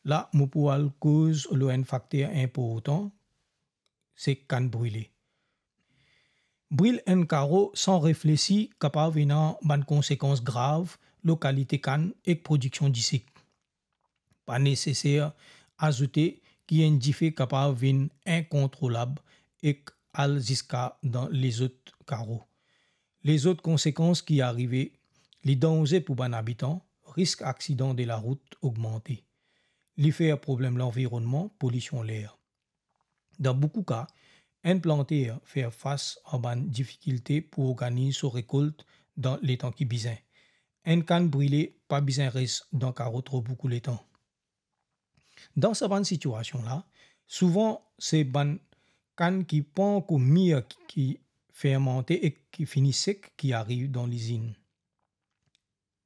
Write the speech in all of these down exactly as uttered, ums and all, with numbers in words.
la mo pou al koz lor enn fakter inportan, se kann brile. Bril enn karo san reflesi kapav ena bann konsekans grav lor kalite kann ek prodiksion disik. Pa neseser azoute ki enn dife kapav vinn inkontrolab ek al ziska dan lezot karo. Lezot konsekans ki arive, li danze pou bann abitan, risk aksidan de larout ogmante. Li fer problem lanvironnman, polision ler. Dan boukou ka, enn planter fer fas a bann difikilte pou organiz so rekolt dan letan ki bizin. Enn kann brile pa bizin res dan karo tro boukou letan. Dan sa bann sitiasion la, souvan se bann kann ki pankor mir ki, ki fermante ek ki fini sek ki ariv dan lizinn.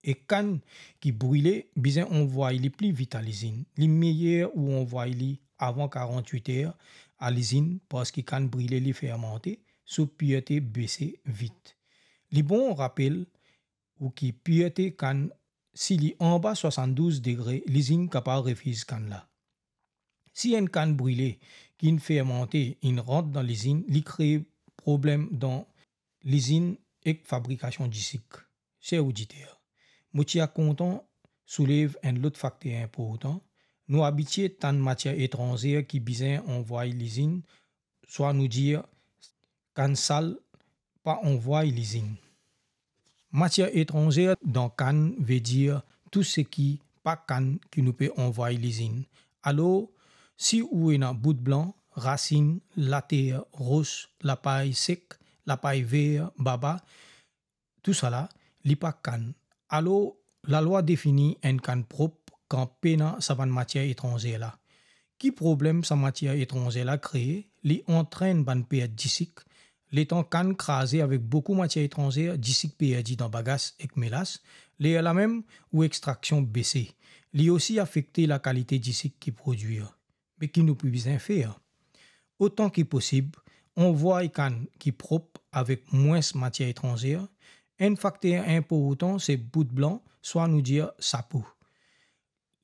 E kann ki brile bizin anvway li pli vit a lizinn. Li meyer ou anvway li avan karant-wit er a lizinn, parski kann brile li fermante, so pirte bese vit. Li bon rapel ou ki pirte kann, si li anba swasann-douz degre, lizinn kapav refiz kann la. Si enn kann brile ki inn fermante inn rant dan lizinn, li kree problem dan lizinn ek fabrikasion disik. Ser oditer, mo ti a kontan soulev enn lot fakter inportan. Nou abitie tann matier etranzer ki bizin anvway lizinn, swa nou dir kann sal pa anvway lizinn. Matier etranzer dan kann vedir tou seki pa kann ki nou pe anvway lizinn. Alor, si ou ena bout blan, rasinn, later, ros, lapay sek, lapay ver, baba, tousala, li pa kann. Alor, lalwa defini enn kann prop kan pena sa bann matier etranzer la. Ki problem sa matier etranzer la kree? Li antrenn bann pert disik. Letan kann kraze avek boukou matier etranzer, disik perdi dan bagas ek melas, lerla mem ou extraksion bese. Li osi afekte lakalite disik ki prodwir. Me ki nou pou bizin fer? Otan ki posib, anvway kann ki prop avek mwins matier etranzer. Enn fakter inportan se bout blan, swa nou dir sapo.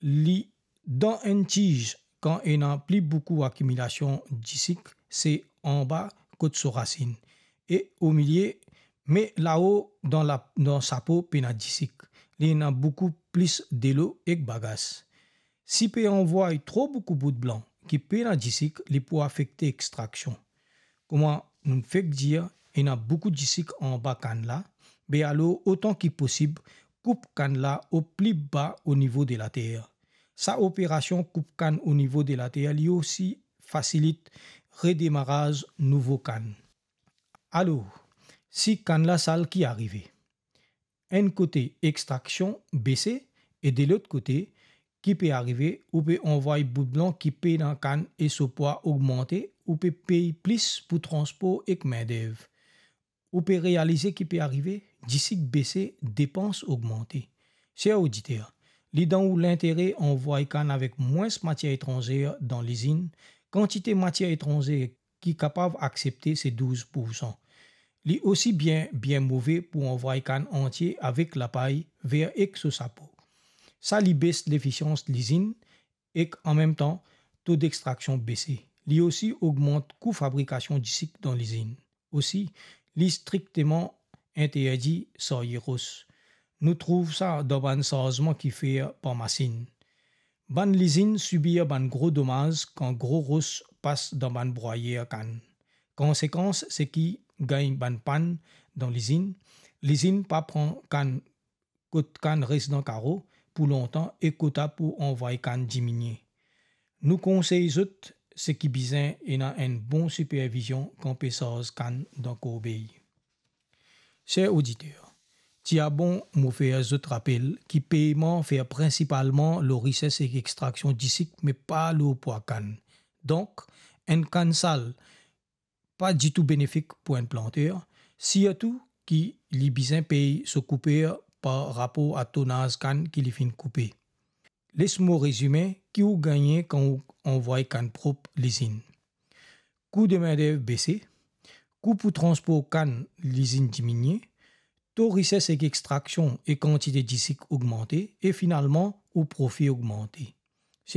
Li dan enn tiz, kan ena pli boukou akimilasion disik, se anba kot so rasinn. E omilie, me lao dan la, dan sapo pena disik. Li ena boukou plis delo ek bagas. Si pe anvway tro boukou bout blan ki pena disik, li pou afekte extraksion. Kouma nou fek dir, ena boukou disik anba kann la, be alor otan ki posib, koup kann la o pli ba o nivo de later. Sa operasion koup kann o nivo de later, li osi fasilit redemaraz nouvo kann. Alor, si kann la sal, ki arive? Enn kote extraksion bese e de lot kote, ki pe arive, ou pe anvway bout blan ki pena kann e so pwa ogmante, ou pe pey plis pou transpor ek mindev. Ou pe realize ki pe arive, disik bese, depans ogmante. Ser oditer, li dan ou lintere anvway kann avek mwins matier etranzer dan lizinn. Kantite matier etranzer ki kapav aksepte se douz poursan. Li osi bien, bien move pou anvway kann antie avek lapay, ver ek so sapo. Sa li bes lefisians lizinn ek anmemtan to dextraksion bese. Li osi ogmant kou fabrikasion disik dan lizinn. Osi, li strikteman interdi sarye ros. Nou trouv sa dan bann sarzman ki fer par masinn. Bann lizinn sibir bann gro domaz kan gro ros pas dan bann brwayer kann. Konsekans, seki gagn bann pann dan lizinn. Lizinn pa pran kann kot kann res dan karo pou lontan e kota pou anvway kann diminie. Nou konsey zot seki bizin ena enn bon sipervizion kan pe sarz kann dan korbey. Ser oditer, ti a bon mo fer zot rapel ki peyman fer prinsipalman lor rises ek extraksion disik, me pa lor pwa kann. Donk, enn kann sal pa ditou benefik pou enn planter, sirtou ki li bizin pey so kouper par rapor a tonaz kann ki li finn koupe. Les mo rezime ki ou gagne kan ou anvway kann prop lizinn. Kou de mindev bese, kou pou transpor kann lizinn diminie, to rises ek extraksion e kantite disik ogmante, e finalman, ou profi ogmante.